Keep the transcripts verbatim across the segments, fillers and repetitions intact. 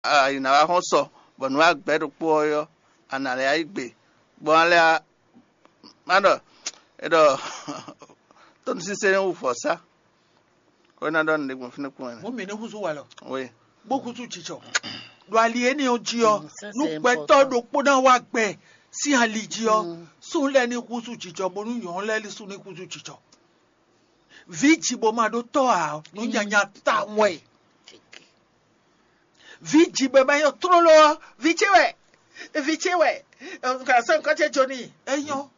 a yi ná wá xɔ́n sɔ, bɔ nǔ agbɛ̌ ɖokpó ɔ́ ɔ́, a nǎ lɛ́ yá yi gbe, bɔ a lɛ́ má ɖɔ è ɖɔ tónúsínsɛ́n wu vɔ̌sá. Xó ná ɖɔ nǔɖé gbɔn fínɛ́ kpɔ́n wɛ. Mɔ̌ mǐ ní húzú walɔ, bó húzú jijɔ. Ɖo ali énɛ́ ɔ́ jí ɔ́, nú gbɛtɔ́ ɖokpó ná wá gbɛ sín ali jí ɔ́, súnnu lɛ́ɛ ní húzú jijɔ, bónú nyɔ̌nu lɛ́ɛ sú ní húzú jijɔ. Vǐ ji bó ma ɖó tɔ́ ǎ ɔ́, nǔ nyanya tawun wɛ. Vǐ ji bó ma nyɔ́ tlóló ɔ́, vǐ ce wɛ, vǐ ce wɛ. Nka sɔ́ nukɔn ce jó n'i, é nyɔ́.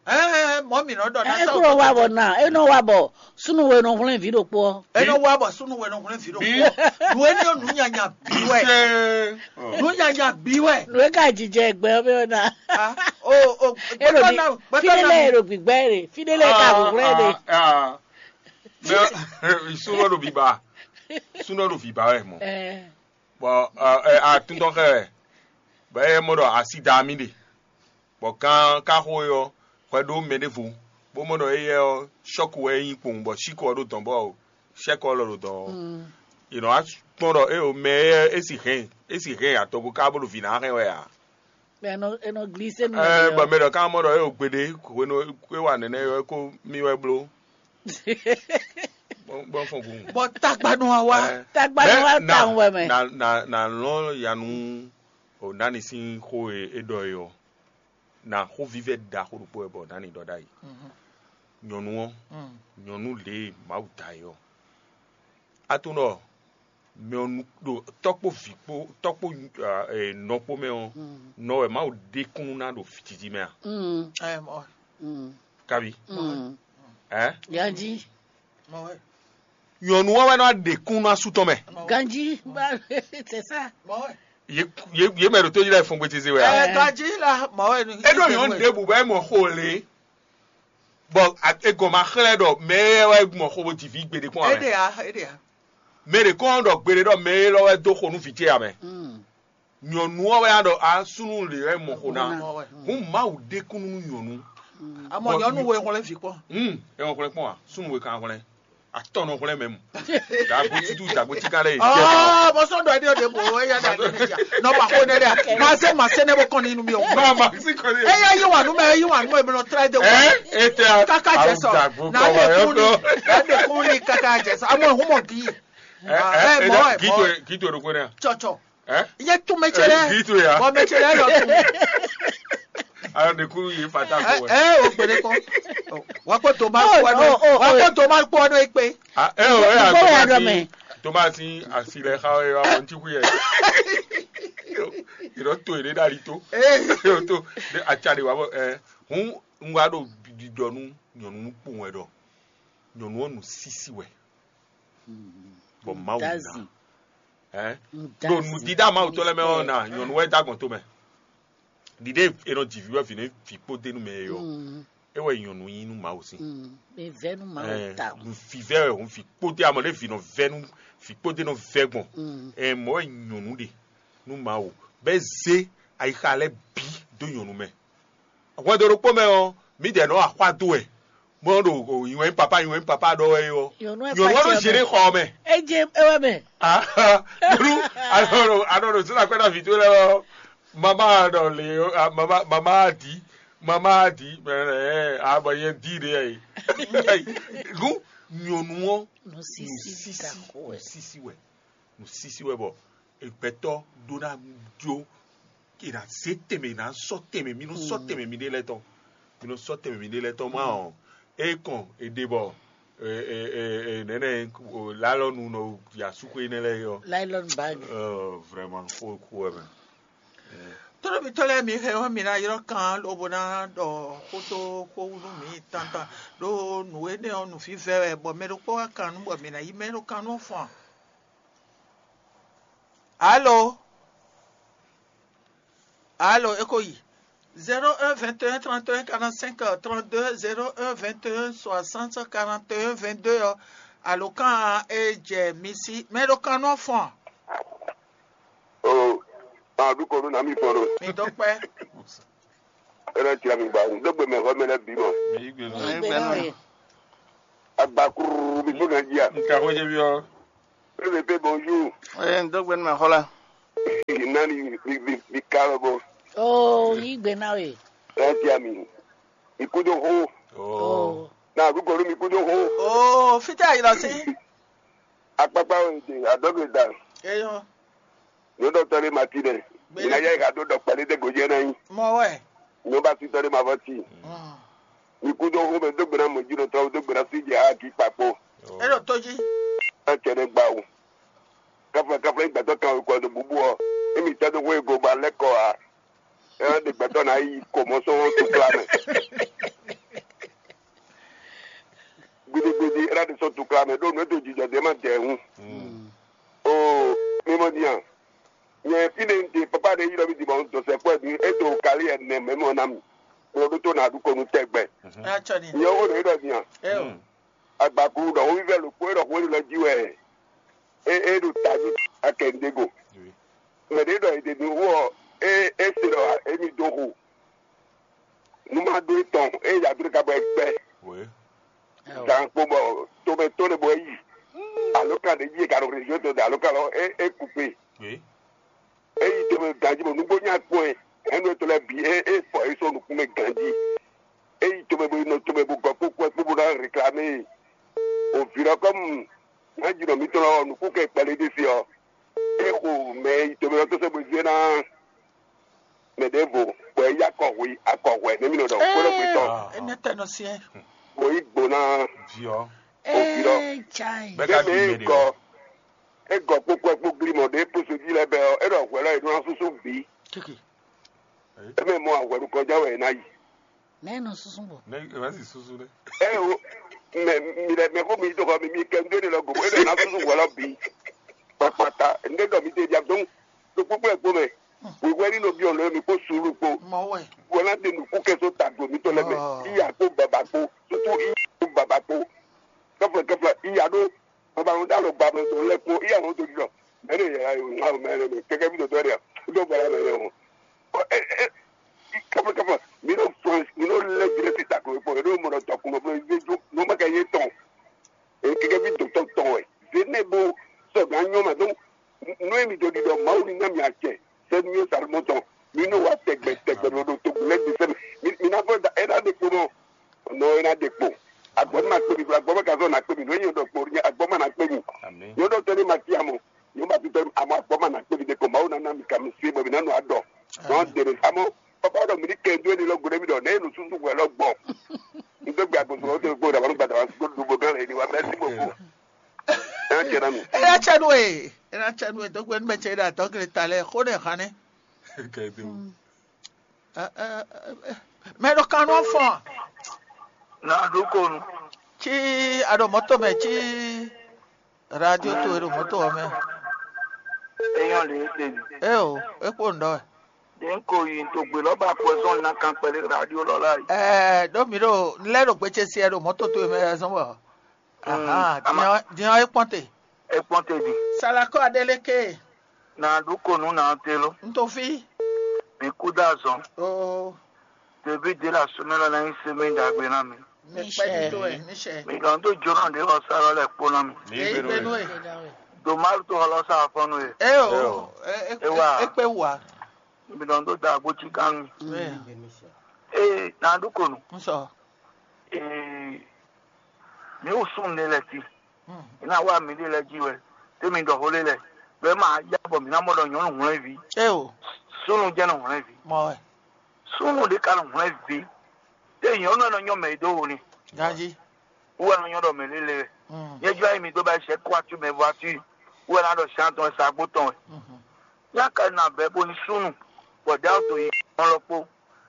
Ɛɛ mɔ̌ mǐ nɔ ɖɔ ná sɔ́. Ékúrò wa bɔ ná, é nɔ wa bɔ súnnu we nɔ hwlɛ́n vǐ ɖokpó ɔ́. É nɔ wa bɔ súnnu we nɔ hwlɛ́n vǐ ɖokpó. Nǔ énɛ́ ɔ́ nǔ nyanya bǐ wɛ. Nǔ nyanya bǐ wɛ. Nǔ e ka jijɛ gbɛ ɔ́ mɛ ɔ́ ná. Ah, o o É ɖo gbɛtɔ bi- ná gbɛtɔ fíɖé ná lɛ mi. Ɖo gbígbá ɛ ɖe, fíɖé lɛ ka hwlɛ́n ɖe. Mɛ súnɔ ɖo bíbá súnɔ ɖo bíbá wɛ mɔ. Bɔ atúntɔn xɛ wɛ bɔ é mɔ ɖɔ asi da mì ɖe, bɔ kan ká xo é ɔ́ hwɛ ɖó mɛ ɖěvo, bó mɔ ɖɔ éyɛ́ ɔ́ sɔ́ku wɛ é nyí kpowun bɔ síkɔ ɔ́ ɖo dɔ̌n bɔ sɛ́kɔ ɔ́ lɔ ɖo dɔ̌n ɔ́, è nɔ wá kpɔ́n ɖɔ éyo mɛ éyɛ́ é si hɛn é si hɛn atɔgo ká bó ɖo vǐ ná hɛn wɛ ǎ. Bɛ nɔ glise nu. Ɛɛ bɔ mɛ ɖɔ ká mɔ ɖɔ éyo gbeɖé hwenu é wa nɛnɛ é ko mì wɛ bló. Gbɔn fɔn gun. Bɔ tagbanu wa wa. Tagbanu wa ta wɛ mɛ. Na na na lɔn yanu o nani sín xó e é ɖɔ é ɔ́, na xó vívɛ́ ɖaxó ɖokpó wɛ bɔ nani ɖɔ ɖ'ayǐ. Nyɔ̌nu ɔ́, nyɔ̌nu lě e Mawu da é ɔ́, a tunɔ ɖɔ mɛ ɔ́ nu ɖo tɔ́ kpó vǐ kpó tɔ́ kpó nɔ kpó mɛ ɔ́, nɔ wɛ Mawu ɖe kúnnu ná ɖo jiji mɛ a? Kabi? Ɛ? Ganji. Nyɔ̌nu ɔ́ wɛ nɔ ɖe kúnnu asú tɔn mɛ. Ganji, c'est ça. Yě mɛ ɖo tó jí lɛ́ɛ fɔngbe teze wɛ a? Ganji la mɔ wɛ. Eɖo nyɔ̌nu ɖěbǔ bɔ é mɔ xo lě. Bɔ e gɔn ma xlɛ́ ɖɔ mɛ e wɛ gbɔn xo bó ji vǐ gbeɖé kpɔ́n ame. Eɖe a eɖe a. Mɛ ɖě kɔn ɖɔ gbeɖé ɖɔ mɛ e lɔ wɛ dó xo nú vǐ ce ame. Nyɔ̌nu ɔ́ wɛ á ɖɔ a súnnu lě wɛ mɔ xo ná. Hǔn Mawu ɖe kúnnu nú nyɔ̌nu. Amɔ nyɔ̌nu we hwlɛ́n vǐ kpɔ́n. Hum, e wɔ hwlɛ́n kpɔ́n a? Súnnu we kan hwlɛ́n. Atɔnɔ hwlɛ́n mɛ mu. Dagbo titu dagbo tika lɛ yi. Ɔɔ bɔsɔn dɔ ɛdi ɔdi bo eya da ne ne ja nɔ ma ko ne dɛ ma se ma se ne bo kɔn ni nu mi o. Ma ma si kɔn ni. Eya yi wa nu mɛ yi wa nu mɛ mi nɔ tra de wa. Ɛ ete a. Kaka jɛ sɔ na de kun ni na de kun ni kaka jɛ sɔ amɔ ehun mɔ di. Ɛ ɛ mɔ ɛ mɔ. Kito ɛ kito ɛ do ko ne. Tsɔtsɔ. Ɛ. Iye tún mɛ tse lɛ. Kito ya. Bɔ mɛ tse lɛ lɔ tún. Ayo de kuru yi fata ko wɛ. Ɛ o gbede kɔ. Wa ko to ma kpɔ nɔ wa ko to ma kpɔ nɔ ekpe. Ah, eh, oh, eh, Tomasi, Tomasi, asile xa ye wa mɔnti ku ye. Iro to ere dali to. Iro to de acha de wa bɔ eh hun un wa do didɔ nu nyɔnu kpɔn wɛ dɔ. Nyɔnu ɔnu sisi wɛ. Bɔ mawu na. Eh? Do nu dida mawu to lɛ mɛ ɔ na nyɔnu wɛ dagbɔn to mɛ. Ɖiɖe e nɔ ji vǐ wɛ vǐ nɛ vǐ kpó dé nú mɛ e ɔ́, é wɛ nyɔ̌nu nyí nú Mawu sín. Vǐvɛ́ nú Mawu ta. Vǐvɛ́ wɛ hǔn vǐ kpó dé amɔ ɖé vǐ nɔ vɛ́ nú vǐ kpó dé nɔ vɛ́ gbɔn. Ɛ mɔ̌ wɛ nyɔ̌nu ɖe nú Mawu bɔ é zé ayixa lɛ́ɛ bǐ dó nyɔ̌nu mɛ. Hwɛndo ɖokpó mɛ ɔ́, mǐdɛɛ nɔ axwá dó wɛ, bó nɔ ɖo nyi wɛ nyí papa nyi wɛ nyí papa ɖɔ wɛ é ɔ́, nyɔ̌nu ɔ́ ɖo zě ɖé xɔ ɔ́ mɛ. É jɛ é wɛ mɛ. Bólú anɔ ɖo zé na kwɛ́ ná vǐ towe lɛ́ɛ ɔ́, mama ɖɔ lě mama mama adi mama adi mɛ ɛ abɔ yɛ di ɖe ɛ. Gún nyɔ̌nu ɔ́ nusisi wɛ nusisi wɛ bɔ gbɛtɔ́ ɖó ná jó è nǎ zé tɛnmɛ è nǎ sɔ́ tɛnmɛ mi nɔ sɔ́ tɛnmɛ miɖée lɛ́ɛ tɔn mi nɔ sɔ́ tɛnmɛ miɖée lɛ́ɛ tɔn má ɔ́ é kɔn è ɖe bɔ nɛnɛ lalɔnu nɔ ya suxu énɛ́ lɛ́ɛ yɔ. Lailɔn bag. Vraiment xó xó wɛ mɛ. Tónúbitɔ́ lɛ́ɛ mi hɛn ɔ́ mi ná ylɔ́ kan lobo ná ɖɔ xótó xó nú mǐ tantan ɖó nǔ énɛ́ ɔ́ nǔvívɛ́ wɛ bɔ mɛ ɖokpó wá kan nú bɔ mǐ ná yí mɛ ɖó kan nú fɔn. Alo. Alo, é ko yi. Zéro un vingt et un trente et un quarante-cinq trente-deux, zéro un vingt et un soixante quarante et un vingt-deux ɔ. Alo kan e jɛ mi si. Mɛ ɖo kan nɔ fɔn. O, a ɖu kɔ ɖo na mi fɔn ɖo. Mi dɔ kpɛ. Ena tia mi gba, n dɔgbe mɛ xɔ mɛ lɛ bi mɔ. Agbakuru mi fo na jia. Nka xɔ jɛ bi ɔ. Pépé bonjour. Ee, n dɔgbe mɛ xɔ la. Ni mi mi mi ka lɔ bɔ. Oo, yí gbe ná we. Ɛ ti ami. Mi kú dó xó. Oh. Na àdúgbò ló mi kú dó xó. Oo, fítẹ́ àyìnlọ sí. Akpákpá wo èdè àdọ́gbè dà. Eyɔn. Ní ó dɔ̀tọ́ lé ma ti dɛ. Gbé. Ìnáyà ìhà dó dɔ̀kpẹ́ lé dé gòjì ẹ̀ náà yín. Mọ wẹ̀. Ní ó bá ti tọ́ lé ma fọ́ tì. Mi kú dó xó mɛ dó gbe ná mɔ jí dó tɔ́ dó gbe ná sí jɛ á kí kpakpó. Oh. É ɖo tó jí. Ɛ cɛ ɖé gbá o. Káfla káfla ìgbà tó kan o kɔ do búbú ọ. Émi tɛ́ dó xó ego ba lɛ́ kɔ a. Ɛ ɖe gbɛtɔ ná yi kɔ mɔ sɔn tukla mɛ. Gbidigbidi ɛ ɖe sɔn tukla mɛ ɖó nǔ e do jijɔ dé ma dɛ hun. O mi mɔ diyan. Nyɛ fínɛ́ ń de papa ɖé yí ɖɔ mì dibɔ dɔsɛ kɔ ɛ mi e to kali ɛ nɛ mɛ mɔ ná mi. Kplɔ ɖó tó nà ɖu kɔnu tɛgbɛ. Ɛ tsɔ ni. Nyɛ wo ɖo yí ɖɔ diyan. Ɛ o. Agbakulu ɖɔ wovívɛ ɖokpó e ɖɔ xó élɔ́ jí wɛ é é ɖo tají akɛndego. Mɛ ɖě ɖɔ è ɖe nǔ wú ɔ́, é é se ɖɔ émí dó xo. Nú má ɖó é tɔn, é yi adó ɖé ka bɔ é gbɛ. Gan kpo bɔ tomɛ tó ɖé bɔ é yi. Alo kan ɖé jí è ka ɖo région tɔn ɖe alo kan lɔ é é kú kpe. É yi tomɛ ganjí bɔ nǔgbó nya kpɔ́n ɛ. Ɛnu ètò lɛ bǐ é é fɔ é sɔ́ nukún mɛ ganjí. É yi tomɛ bo yi nɔ tomɛ bo gɔ kpókpó ɛ kpó bó ná réclamer. O vǐ lɔ kɔmu ná ji nɔ mǐtɔn lɔ nukún kɛ kpɛlɛ ɖé se ɔ́, é xo mɛ e yi tomɛ lɔ tó sɛ́ bo zé ná mɛ ɖěvo, bɔ é yí akɔ hwe akɔ hwɛ nɛ́ mì nɔ ɖɔ xwé lɔ gbetɔ. Enɛ tɛ nɔ siɛ. Bo yi gbo ná Viɔ. O vǐ lɔ. Ee, chai. Bɛ́ Bẹ́ẹ̀ ka mɛ fi é mɛ ɖe gɔ o. É gɔ kpókpó ɛ kpó glimɔ ɖé kpó sojí lɛ́ɛ bɛ ɔ́, é ɖɔ hwɛ lɔ é nɔ ná súsú bǐ. Kiki. É mɛ mɔ ahwɛ ɖo kɔjá wɛ é ná yi. Nɛ nɔ susu bɔ. Ne ema si susu ɖe. Ɛ o, mɛ mi lɛ mɛ ko mi to xɔ mi mi kɛ ndé ne lɔ gogo, e ɖɔ na susu wɔ lɔ bi. Kpakpata, ndé dɔ mi te dia dɔn. To kpokpo ɛ kpo mɛ. Wíwɛ ni nɔ bi ɔlɔ mi kpo sulu kpo. Mɔ wɛ. Wɔ na de nuku kɛ so ta do mi to lɛ mɛ. Iya kpo baba kpo, tutu iya kpo baba kpo. Kɛfɛ kɛfɛ iya ɖo. Baba ŋu da lɔ gba mɛ to lɛ kpo iya ŋu to di lɔ. Mɛ ne yɛ ayo ŋa mɛ ne mɛ kɛkɛ bi to tɔ de. Do bala mɛ ne o. Ɔ ɛ ɛ. Kɛfɛ kɛfɛ mi ɖo France mi ɖo lɛ jire si ta ko kpo mi ɖo mɔ ɖɔ tɔ kun mɔ blo ye jo no ma kɛ ye tɔn. Keke ví dotɔ tɔn wɛ. Zénɛ bo sɔgbe anyɔ ma dɔn. Nú emi do ɖiɖɔ Mawu ní ná mi acɛ sɛnu yé Salomɔ tɔn. Mi nɔ wa tɛgbɛ tɛgbɛ ɖo ɖo togun lɛ di sɛmɛ. Mi na fɔ da ena ɖe kpo nɔ. Nɔ ena ɖe kpo. Agbɔ ma kpe mi, agbɔ ma ka zɔ na kpe mi. Nɔ yɛn ɖɔ kpo nyɛ agbɔ ma na kpe mi. Nyɔ ɖɔ tɔ ne ma ti amɔ. Nyɔ ma ti tɔ amɔ agbɔ ma na kpe mi de ko Mawu na na mi ka mi se bɔ mi na nɔ adɔ. Nɔ dere amɔ. Papa ɖɔ mi ní kɛ dó eni lɔ gblé mi ɖɔ nɛ enu susu hwɛ lɔ gbɔ. N tó gbe agbóso lɔ tó gbó dàbọ̀ nígbà dàbọ̀ kó dùbò gán lè ní wa mẹ́sì gbogbo. Ẹ jẹ́ náà mi. Ena tsɛ nu e, ena tsɛ nu e dɔgbe nu mɛ tsɛ ɖe atɔ kele ta lɛ xo ne xane. Kɛdo. Mɛ ɖo kan nɔ fɔn. Na ɖo konu. Tsi aɖo mɔto mɛ tsi radio to e ɖo mɔto wɔ mɛ. Eyɔn le ete mi. Eo, ekpo ŋdɔ. Den ko yi to gbe lɔ ba poison na kan pɛlɛ radio lɔ la yi. Ɛɛ ɖo mi ɖo lɛ ɖo gbetse si ɛ ɖo mɔto to e mɛ zɔn bɔ. Ahan, diɔ ekpɔn te. Ekpɔn te di. Salakɔ aɖe leke. Na ɖu konu na te lo. Ntofi. Mi ku da zɔn. Oo. Tebi de la sumɛ lɔ na yi se mi dagbe na mi. Níṣẹ́. Níṣẹ́. Mi gan to jona de lɔ sa lɔ lɛ kpo na mi. Èyí gbénu ẹ̀. Domaru to lɔ sa fɔnu ye. Ẹ o. Ẹ ẹ Ewa. Ẹ pé wà. Mi gan to da agbo ti kan mi. Ee, na ɖu konu. N sɔ. Ee, mi wo sun de lɛ ti. Ina wa mi de lɛ ji wɛ. Te mi dɔ ho le lɛ. Bɛ ma ya bɔ mi na mɔ dɔ nyɔnu hwlɛnvi. Ẹ o. Sunu jɛ nɔ hwlɛnvi. Mɔ wɛ. Sunu de ka nɔ hwlɛnvi. Te nyɔnu nɔ nyɔ mɛ do wo ni. Gaji. Wɛ nɔ nyɔ dɔ mɛ lele wɛ. Nyɛ jɔ ayi mi do ba sɛ kɔ atu mɛ vɔ atu. Wɛ na dɔ shan tɔn sa gbo tɔn wɛ. Nya ka na bɛ bo ni sunu. Bɔ da to yi tɔn lɔ kpo.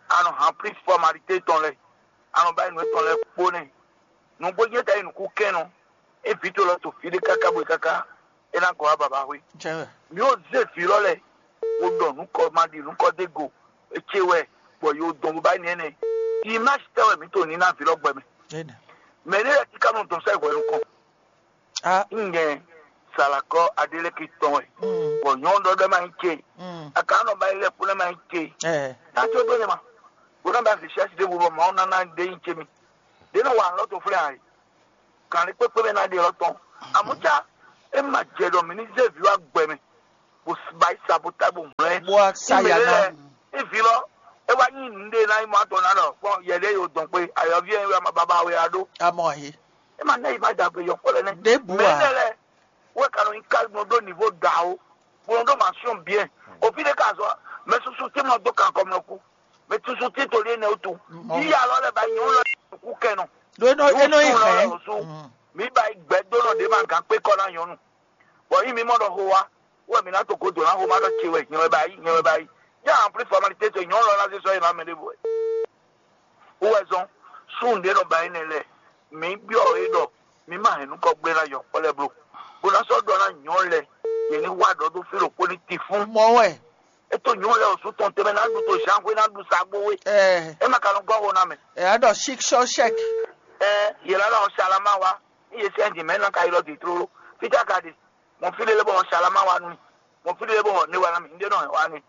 Anɔ han plis fɔmalite tɔn lɛ. Anɔ ba yi nɔ tɔn lɛ kpo nɛ. Nugbo jɛ ta yi nuku kɛn nɔ. E vi to lɔ to fi de kaka bo yi kaka. E na gɔ wa baba hwe. Mi o ze vi lɔ lɛ. O dɔ nukɔ ma di nukɔ de go. Etse wɛ. Bɔ yo dɔn bo ba yi nɛ nɛ. Image tɛ wɛ mi to ni na vi lɔ gbɛ mɛ. Mɛ ne yɛ ti ka nɔ dɔn sɛ hwɛ nukɔn. Ŋgɛ salakɔ adeleke tɔn wɛ. Bɔ nyɔnu dɔ dɔ ma yi ce. Aka nɔ ba yi lɛ kpo ma yi ce. Ɛ. Tato do ne ma. Bo na ba fi sɛsi de bo bɔ ma na na de yi ce mi. De na wa lɔ to flɛ ayi. Kan le kpekpe mɛ na de lɔ tɔn. Amuca e ma jɛ dɔ mi ni ze vi wa gbɛ mɛ. Bo ba yi sa bo ta bo ŋlɛ. Bó wá sá ya ná. Ní vǐ lɔ, é wá nyí nǔɖé ná nyí mɔ atɔn ná ɖɔ kpɔn yɛɖé yo dɔn kpé ayɔví ɛ wɛ baba wɛ a ɖó. Amɔ he. É ma ná yi ma dàgbé yɔkpɔ lɛ nɛ. Ɖěbǔ mɛ ǎ. Lɛ lɛ wɛ ka nɔ nyi ká nɔ ɖó nivo da o, bó nɔ ɖó ma sɔn biɛ. Òfin ɖé ka zɔ mɛ susu tí nɔ dó kan kɔmlɔ kú, mɛ susu tí to lé nɛ o tu. Yíyá lɔ lɛ ba nyɔnu lɔ kú kɛ nɔ. Ɖó é nɔ é nɔ yi hɛn. Mi ba yi gbɛ dó nɔ ɖé ma gán kpé kɔ ná nyɔnu. Bɔ yí mi mɔ ɖɔ xo wa, wɛ mi ná to godo ná xo ma ɖɔ ce wɛ nyɛ wɛ ba yi nyɛ wɛ ba yi. Yá en plus formalité ce nyɔnu lɔ ná zé sɔ yi ná mɛ ɖé bɔ. Wowɛzɔn, súnnu ɖé nɔ ba énɛ́ lɛ́ɛ, mǐ byɔ́ yě ɖɔ mǐ ma hɛn nukɔn gblé ná yɔ kpɔ́ lɛ́ɛ bló, bó ná sɔ́ ɖɔ ná nyɔ̌ lɛ́ɛ, yě ní wá ɖɔ dó fí ɖokpó ní tifún. Mɔ̌ wɛ. É tó nyɔ̌ lɛ́ɛ oṣù tɔn tɛnmɛ ná ɖu to zǎnxwé ná ɖu sa gbó wé. Ɛ É ma ka nɔ gɔ́ xo ná mɛ. Ɛ á ɖɔ shik shɔ shɛk. Ɛ yě lá ɖɔ salama wa, ní yě sɛ́n dǐ mɛ ná ka yi lɔ dǐ tlóló. Fítá ka ɖe, mɔ fí lélé bɔ salama wa nú mì. Mɔ fí lélé bɔ ne wa ná mì, un ɖé nɔ wa nɛ.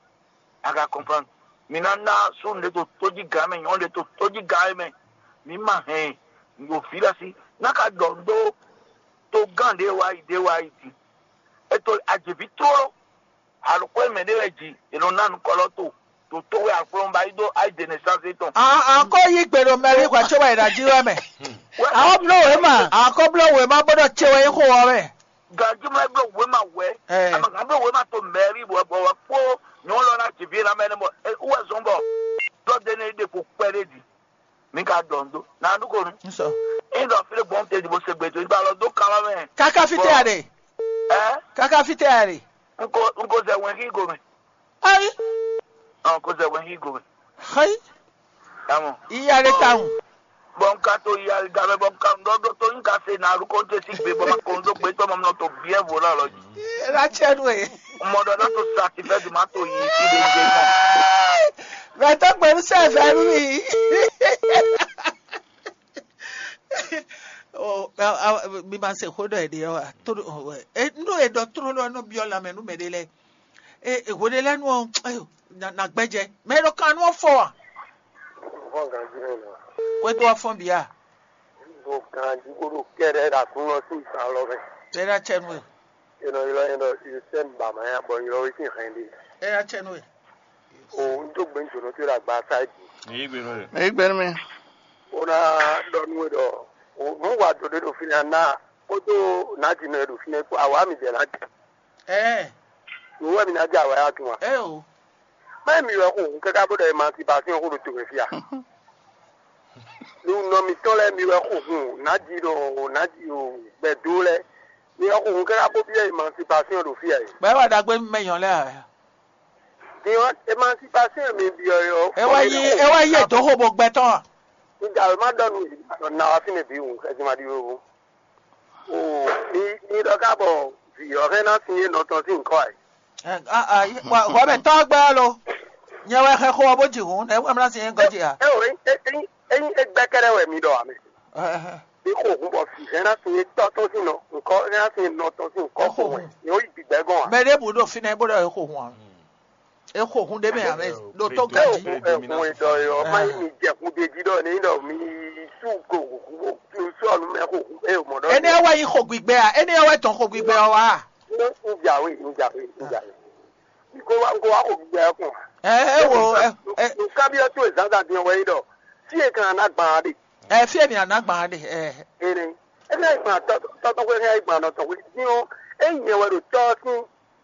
A ka kɔnplan. Mi ná ná súnnu ɖé to tójígǎn mɛ, nyɔ̌nu ɖé to tójígǎn mɛ. Mi ma hɛn ɖo fí lɛ́ɛ sí. Ná ka ɖɔ ɖó togán ɖě wá yi ɖě wá yi din. É to ajěví tlóló. Alɔkɔ́ e mɛ ɖé wɛ ji, è nɔ ná nukɔlɔ to. To tó wɛ aklɔ́nba yi dó ayi de nɛsánsi tɔn. A a ko yí gbe ɖo mɛrí hwɛ tso wɛ ɖa jí wɛ mɛ. Wɛ A ko bló wěma. A ko bló wěma bó ɖɔ tse wɛ yí xo wɔ mɛ. Gajimɛ bló wěma wɛ. Ɛ. Amagã bló wěma to mɛrí wɛ bɔ wɛ kpó nyɔ̌nu lɔ ná jǐví ná mɛ ne bɔ wɛ zɔn bɔ dɔ de ne ɖe ko kpɛ ɖe di. Mi ka dɔn do. Na nu ko nu. Nsɔ. Ŋdɔ fi ɖe gbɔn te di bo se gbe to. Igba lɔ do kama mɛ. Kaka fite a ɖe. Ɛ. Kaka fite a ɖe. Nko nko zɛ wɛn ki go mɛ. Ayi. Ɔ ko zɛ wɛn ki go mɛ. Xayi. Tamɔ. Iya ɖe tawun. Bɔ n ka to yi aligamɛ bɔ n ka n ɖɔ ɖɔ to n ka se na alu kɔnte si gbe bɔ ma kɔn do gbe tɔ mɔ nɔ to biɛ vo na lɔ ji. La tiɛ nu e. Mɔ ɖɔ na to satifɛ di ma to yi si de nje mɔ. Mɛ tɔ gbɛnu sɛ fɛ nu mi. Mi ma se xó ɖɔ ɛ ɖe ɔ wa. Nú e ɖɔ tlóló nɔ biɔ lanmɛ nú mɛ ɖe lɛ. Hweɖelɛ́nu ɔ́, na gbɛ́jɛ mɛ e ɖo kan nú ɔ́ fɔ a? Vɔ́ ganjí nɔ nɔ. Xwédo ɔ́ fɔ́n bǐ a? Ɖo ganjí bó ɖo kɛ́ɖɛ́ ɖo aklúnɔ sín zan lɔ mɛ. É ná cɛ nú we. È nɔ ylɔ́ nyɛ ɖɔ Yosɛ́n Bamaya bɔ ylɔ́ we sín hɛn ɖe. É ná cɛ nú we. O, un dó gbe jǒnɔ towe ɖo agba sa é din. Èyí gbe nú we. Èyí gbe nú mi. Ó ná ɖɔ nú we ɖɔ nǔ wa dǒ ɖé ɖo fínɛ́ ná kpódó nǎjinɔ e ɖo fínɛ́ kpó awǎ mi jɛ ná jɛ. Ɛɛ. Nǔ wɛ mi ná jɛ awǎ ya tún wa? Ɛɛ o. Má mi wɛ xo hun káká bó ɖɔ emancipation xó ɖo to wɛ fia. Nú nɔ mitɔn lɛ́ɛ mi wɛ xo hun nǎjinɔ o nǎji o gbɛdó lɛ́ɛ. Mi wɛ xo hun káká bó byɔ́ emancipation ɖo fia e. Bɛ́ wà ɖagbe mɛ nyɔ lɛ́ɛ a? Din ɔ́, emancipation e mi byɔ́ é ɔ́. É wá yí é wá yí ètò xo bó gbɛtɔ́ a? Un jɛ awě má ɖɔ nú mi ɖɔ na wá fínɛ́ bǐ hun xɛsi ma ɖi wéwu. O mi mi ɖɔ ká bɔ vǐ ɔ́ hɛn ná sin é nɔ tɔn sín ŋkɔ ɛ. Hɔbɛ tɔ́ gbɛ ɔ́ lo. Nyɛ wɛ xɛ xo ɔ́ bó ji hǔn, nɛ̌ wɛ mlá sin é gɔ́ jí a? É o ényí ényí é gbɛ́ kɛ́ɖɛ́ wɛ mi ɖɔ ǎ mɛ. Mi xo hǔn bɔ vǐ hɛn ná sin é tɔ́ tɔn sín nɔ ŋkɔ hɛn ná sin é nɔ tɔn sín ŋkɔ xo wɛ. Nyɛ ó yi gbǐgbɛ́ gɔ́n ǎ. Mɛ ɖěbǔ ɖo fínɛ́ bó ɖɔ é xo hǔn ǎ. É xo hun ɖé mɛ ame ɖo tó Ɛ ganjí. Ɛ hun e ɖɔ e ɔ, má nyí mi jɛ hun ɖe jí ɖɔ ní ɖɔ mi sú go sú ɔnu mɛ xo hun e mɔ ɖɔ. Énɛ́ wɛ nyí xo gbígbɛ a? Énɛ́ wɛ tɔn xo gbígbɛ ɔ wá? Ní ń jà wé, ń jà wé, ń jà wé. Kó wá kó wá xo gbígbɛ ɔ kùn. Ɛ ɛ wo ɛ ɛ Nǹkan bí ọtún ìzánzá dín ọwọ́ yìí dọ̀. Tí èkó náà ná gbà á dè. Ɛ fí èmi àná gbà á dè ɛ. Èrè. Ẹ fẹ́ gbà tọ́tọ́ pé ẹ gbà nọ tọ̀wé dín ó. Ẹ yẹn wẹ̀ ló tọ́ sí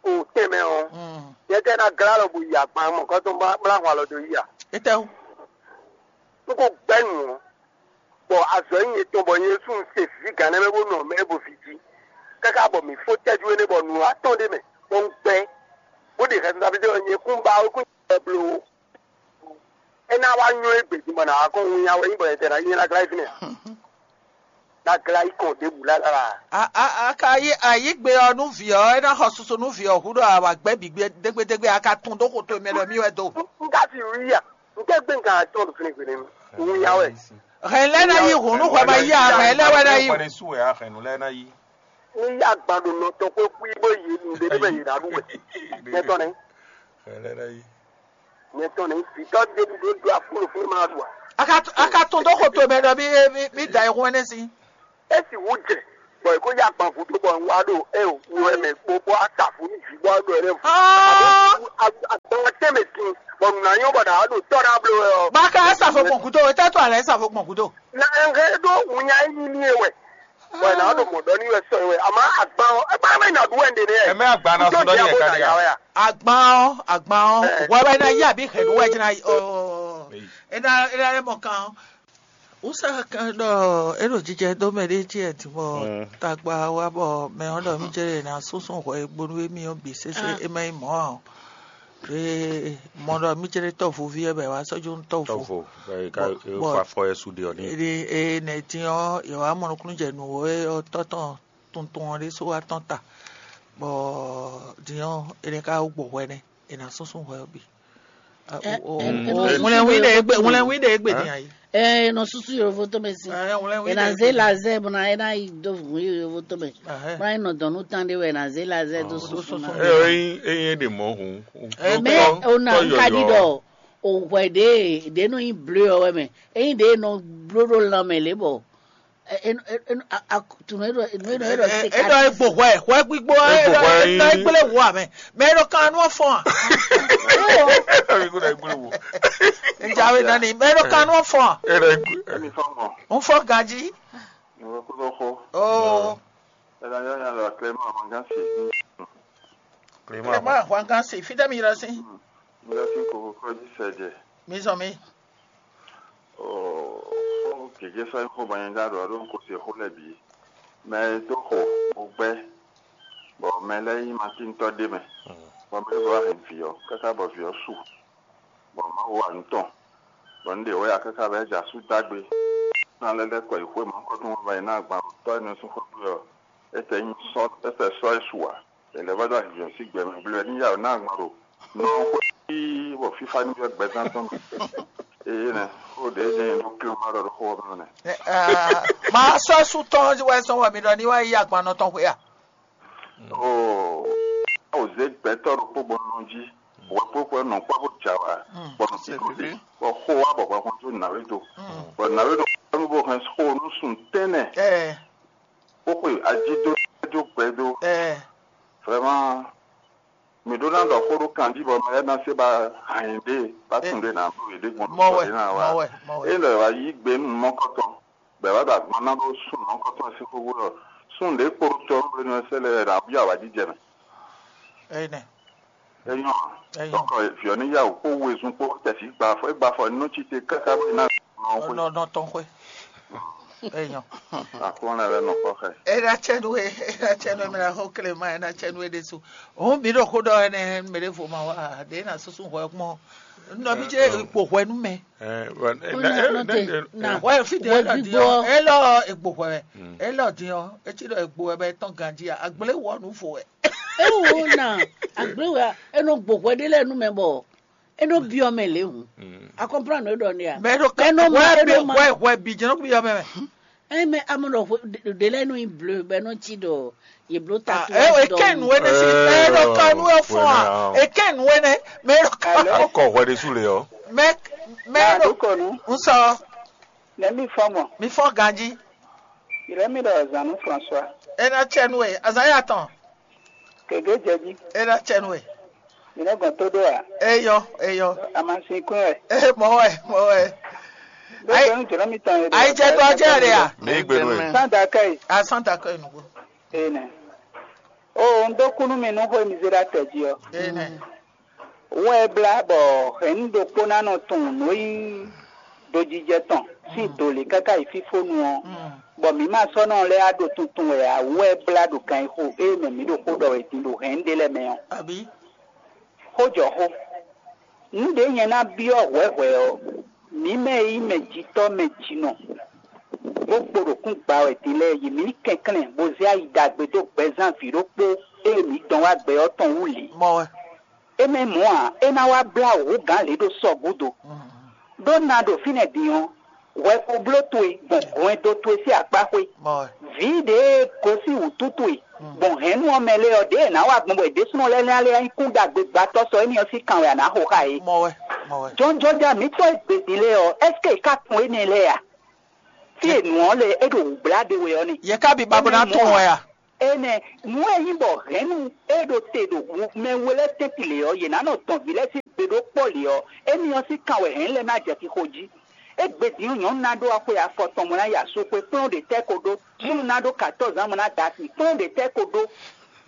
o tẹ̀mẹ̀ ọ́. Mm. Yẹ kẹ́ ná glá lọ bó yi àgbà mọ̀ kọ́ tó ń bá bla hùn àlọ́ dó yí à. Etɛwo. N kò gbẹ́ nù ọ́. Bɔ azɔ yi etɔn bɔ Yesu se vǐ gǎn nɛ́ mɛ bó nɔ mɛ bó vǐ jí. Káká bɔ mǐ fó tɛ́jú énɛ́ bɔ nǔ atɔn ɖé mɛ bɔ un gbɛ. Bó ɖe xɛsi Davidi ɔ́ nyɛ kún ba wé kún nyɛ bló. É ná wá nyɔ́ égbé din bɔ nǎ wá kɔn winnyá wɛ nyí bɔ nyɛ tɛ ná nyí ná glá yi fínɛ́ ǎ. Ná glá yi kɔn ɖěbǔ lálá. A a a ka yí ayǐgbe ɔ́ nú vǐ ɔ́, é ná xɔ susu nú vǐ ɔ́ hú ɖɔ awǎ gbɛ́ bǐ gbé dégbédégbé, a ka tún dó xo towe mɛ ɖɔ mì wɛ do. Un ka fi wí ya? Un tɛ gbé nǹkan atɔn ɖo fínɛ́ gbé nínú. Winnyá wɛ. Hɛn lɛ́ ná yí hǔn nú hwɛ ma yí a hɛn lɛ́ wɛ ná yí. Hwɛ ɖésú wɛ a hɛn nǔ lɛ́ɛ ná yí. Ní yá agban ɖo nɔ tɔn xwé xwí bó yi nu ɖé bɛ yě ná ɖu wɛ. Nyɛ tɔn nɛ. Hɛn lɛ́ɛ ná yí. Nyɛ tɔn nɛ. Vǐtɔ ɖé ɖu ɖó ɖo afúnú fún ma ɖu a. A ka a ka tún dó xo towe mɛ ɖɔ mì mì mì da ayihún ɛnɛ sín. Esi wú jɛ bɔ è kó yá agban vú dó bɔ un wá ɖo ɛ o wú ɛ mɛ kpó bó a ta fún ní jǐ bó a ɖo ɛ lɛ vú. Aa. Agban Bɔ nǔ ná nyɔ́ bɔ ɖǎ ɖo tɔ́ ɖá bló wɛ ɔ́. Báka ɛ sa fo gbɔn gúdo, etɛ́ to alɛ ɛ sa fo gbɔn gúdo. Na ɛ hɛn ɖó wǔnya yi ní ní e wɛ. Bɔ ɛ ná ɖo mɔ̌ ɖɔ ní wɛ sɔ e wɛ. Àmọ́ àgbá ɔ́, ɛ bá mɛ nà ɖu wɛ ɖe nɛ. Ɛ mɛ àgbá ná sɔ́ ɖɔ ní ɛ ká ɖe ya. Àgbá ɔ́, àgbá ɔ́, wɛ wɛ ná yí àbí hɛ̌ ɖó wɛ jẹ́ ná yí ɔ́. Ɛ ná ɛ ná mɔ kan ɔ́. Wúsá kan ɖɔ é ɖo jijɛ dó mɛ ɖé jí ɛ din bɔ tagba wá bɔ mɛ ɔ́ ɖɔ mí jɛ ná súnsún hwɛ e gbónú émí ɔ́ bǐ sésé é má nyí mɔ̌ ǎ. Ɖě mɔ ɖɔ mí jɛ ɖé tɔ́ vo ví ɛ bɔ è wá sɔ́ jó nú tɔ́ vo. Tɔ́vo bɔ è ka Bɔ- è bɔ- fa afɔ ɛ su ɖe ɔ́ ní. Ede e nɛ din ɔ́ yɛ wá mɔ nukúnnú jɛ nǔ e ɔ́ tɔ́ tɔn tuntun ɔ́ ɖésú wá tɔ́n ta. Bɔ din ɔ́ è nɛ ka wú gbɔ hwɛ nɛ́ è nǎ súnsún hwɛ ɔ́ bǐ. Ɛ, ɛ, ɛ, ŋlɛnwí ɖe égbé ŋlɛnwí ɖe égbé din ayi. Ɛ nɔ susu yovo tɔn mɛ si. Ɛ ŋlɛnwí ɖe égbé. Ɛ na zé lazɛ bɔ na ɛ na yi do vun yovo tɔn mɛ. Bɔ na yi nɔ dɔn nú tán ɖé wɛ na zé lazɛ do susu na. Ɛ ɔ yin eye ɖe mɔ hun. Ɛ mɛ o na n ka ɖi ɖɔ o hwɛ ɖe ɖe nɔ yin ble ɔ wɛ mɛ eyin ɖe nɔ blo ɖo lan mɛ lě bɔ. Ɛ ɛ ɛ ɛ a- a- tunu e ɖɔ nu e ɖɔ e ɖɔ se e ɖɔ egbo hwɛ hwɛ gbígbó e Egbo ɖɔ hwɛ e ɖɔ yí. Egbele wo amɛ mɛ e ɖɔ kan nu fɔn a. Ami ko na egbele wo. Njawe nani mɛ e ɖɔ kan nu fɔn a. E ɖɔ egbe. Emi fɔ mɔ. N fɔ ganji. Ìwọ kó lọ xɔ. Oo. Ẹ na yọ yan lọ àkìlẹ mọ àwọn gán sí. Clément. Clément hwangan si fidɛ mi yɛrɛ si. Mi lọ sí kókó kɔjí sɛjɛ. Mi zɔn mi. Ó gěgé sɔ́ nyí xó bɔ nyɛ ɖó aɖǒ aɖó kó se xó lɛ́ɛ bǐ. Mɛ e dó xo bó gbɛ́, bɔ mɛ lɛ́ɛ nyí matíntɔ́ ɖé mɛ, bɔ mɛ ɖěvo wá hɛn vǐ ɔ́, káká bɔ vǐ ɔ́ su, bɔ Mawu wa nǔ tɔn, bɔ un ɖe wɛ ya káká bɔ é jɛ asú dó agbe. Ná lɛ́ lɛ́ kɔ yi xwé mɔ̌hunkɔtɔn bɔ è nǎ agban ɖo tɔ́ énɛ́ ɔ́ sín xwé gbe ɔ́, é tɛ nyí sɔ́ é tɛ sɔ́ ɛ su ǎ. È lɛ̌ vɔ́ ɖó azǐzɔ́n sín gbɛ mɛ bló wɛ ní yá wǔ ná agban ɖo nɔ xwé bɔ fífá ní byɔ́ gbɛzán tɔn mɛ. Éyɛ́ nɛ́, xó ɖě jɛ́n nyɛ ɖó klé ma ɖɔ ɖó xó ɔ́ mɛ nɛ́. Ma sɔ́ sú tɔn wɛ sɔ́ wɛ mi ɖɔ ní wá yí agban nɔ tɔn xwé a? Oo, awo zé gbɛtɔ́ ɖokpó bɔ nɔ jí, wɛ kpókpó nɔ kpɔ́ bó jǎ wá, bɔ nɔ sí kó dé, bɔ xó wá bɔ hwɛhwɛn jó nǎwé do, bɔ nǎwé do kpɔ́ bó hɛn xó nú sun tɛ́nnɛ, bó xwe ají dó jó gbɛ dó. Vraiment, mǐ ɖó ná ɖɔ xó ɖó kan jí bɔ mɛ lɛ́ɛ ná se ba hǎn yě ɖe, bá tunwun ɖé ná bló yě ɖe gbɔn Mɔ wɛ, ɖě ná wá. Mɔ wɛ, mɔ wɛ. É lɛ wá yí gbe nú mɔ̌kɔtɔn, bɔ è wá ɖo agban ná ɖó súnnu mɔ̌kɔtɔn sín xó gúdo. Súnnu ɖě kpo ɖo tɔ́ nú blénú ɔ́ sɛ́ lɛ́ɛ wɛ ná byɔ́ awǎjijɛ mɛ. Énɛ́. É nyɔ́ ǎ. É nyɔ́. Donc, vǐ ɔ́ ní yá wǔ kpó wezun kpó tɛ̌sí gba afɔ, é gba afɔ nú cí te káká bó yi ná nɔ xwé. Nɔ nɔ tɔn xwé. É nyɔ́. Aklɔ́nɛ lɛ́ɛ nɔ kpɔ́ xɛ. É ná cɛ nú we, é ná cɛ nú we, mɛ ná xó klema, é ná cɛ nú we ɖésú. Òun bǐ ɖo xó ɖɔ ɛnɛ mɛ ɖěvo ma wá ɖě ná súsú hwɛ kpɔ́n. Nɔ bí jẹ́ ipò hwɛ nú mɛ. Wɛ fi dě é lɔ dín ɔ́, é lɔ ègbò hwɛ wɛ, é lɔ dín ɔ́, é cí ɖɔ ègbò wɛ bɛ tɔn ganjí a, àgbélé wɔ nǔ fo wɛ. Ewu na agble wa eno gbogbo ɖe lɛ nu mɛ bɔ eno biɔ mɛ le hu. A comprendre ɖɔ ne ya? Mɛ ɖo ka Mɛ nɔ ma wɛ bi eno ma wɛ wɛ bi jɛnɛ bi yɔ mɛ mɛ. Ɛ mɛ amɔ ɖɔ ɖe lɛ nu yi bleu bɛ nɔ ci ɖɔ ye blo ta Ah, tu eh, e kɛ nu ene si, e ɖo ka nu e fɔn a, e kɛ nu ene, mɛ e ɖo ka. Alo? Akɔ hwɛ ɖe su le ɔ. Mɛ mɛ Ah, ɖo du kɔnu. N sɔ. Nɛ mi fɔ mɔ. Mi fɔ ganji. Ìrẹ́ mi ɖɔ zanu François. E na cɛ nu e, azan ya tɔn. Kege jɛji. E na cɛ nu e. Ìrẹ́ gbɔn tó ɖó a. Eyɔ, eyɔ. Amasin kún ɛ. E mɔ wɛ, mɔ wɛ. Bó Ayi- fẹ́ ń jọ̀rọ̀ mi tàn yẹn. Ayi jɛ dɔ jɛ de a. Mi gbenu e. Sanda kɛ yi. A santa kɛ nugo. Ene. O n dó kúnú mi nú xó mi zé ɖa tɛ jí ɔ. Ene. Wɛ blá bɔ hɛ̌nnu ɖokpó ná nɔ tunwun nǔ e nyí dojijɛ tɔn sín do lě káká yi fífónu ɔ́, bɔ mǐ ma sɔ́ nɔ lɛ́ wá ɖo tuntun wɛ ǎ. Wɛ blá ɖo gan e xo ée mɛ mǐ ɖo xó ɖɔ wɛ din ɖo hɛ̌nnu ɖé lɛ́ɛ mɛ ɔ́. Abǐ. Xójɔxó. Nǔ ɖě nyɛ ná byɔ́ hwɛ̌hwɛ́ ɔ́, mǐ mɛ e nyí mɛ jitɔ́ mɛ jinɔ, bó kpo ɖo kún gba wɛ din lɛ́ɛ yi mǐ ní kɛnklɛ́n bó zé ayi ɖagbe dó gbɛzán vǐ ɖokpó e mǐ dɔn wá gbɛ ɔ́ tɔn wú lě. Mɔ wɛ. É mɛ mɔ̌ ǎ, é ná wá blá wǔ gǎn lě ɖó sɔ gúdo. Ɖó na ɖo fínɛ́ din ɔ́, hwɛ ko bló towe gbɔn hwɛndo towe sín akpá xwé. Mɔ wɛ. Vǐ ɖě e gosín wǔtú towe gbɔn hɛ̌nnu ɔ́ mɛ lé ɔ́, ɖěe è nǎ wa gbɔn bɔ è ɖésúnɔ lɛ́ɛ ná lɛ́ nyí kúnɖagbe gbɛtɔ́ sɔ énɛ́ ɔ́ sín kan wɛ a nǎ xo xá yě. Mɔ wɛ, mɔ wɛ. Jɔnjɔnja mǐtɔn e gbě din lé ɔ́, ɛ́seke è ká tunwun énɛ́ lɛ́ɛ a? Fí e nǔ ɔ́ lɛ é ɖo wǔblá ɖe wɛ ɔ́ nɛ́. Yě ká bi ba bó ná tunwun wɛ a? Énɛ́, nǔ e nyí bɔ hɛ̌nnu e ɖo te ɖo mɛ we lɛ́ɛ tɛ́ntin lě ɔ́, yě ná nɔ dɔn vǐ lɛ́ɛ sín È ɖó kpɔ́ lě ɔ́, émí ɔ́ sín kan wɛ hɛ̌n lɛ́ɛ ná jɛ xixo jí. Égbé din ɔ́, nyɔ̌nu ná ɖó axwe afɔ tɔn bó ná yi asú xwé, kplɔ́n ɖě tɛ́ ko ɖó. Súnnu ná ɖó katɔ́ɔ́zi ǎ bó ná da asi, kplɔ́n ɖě tɛ́ ko ɖó.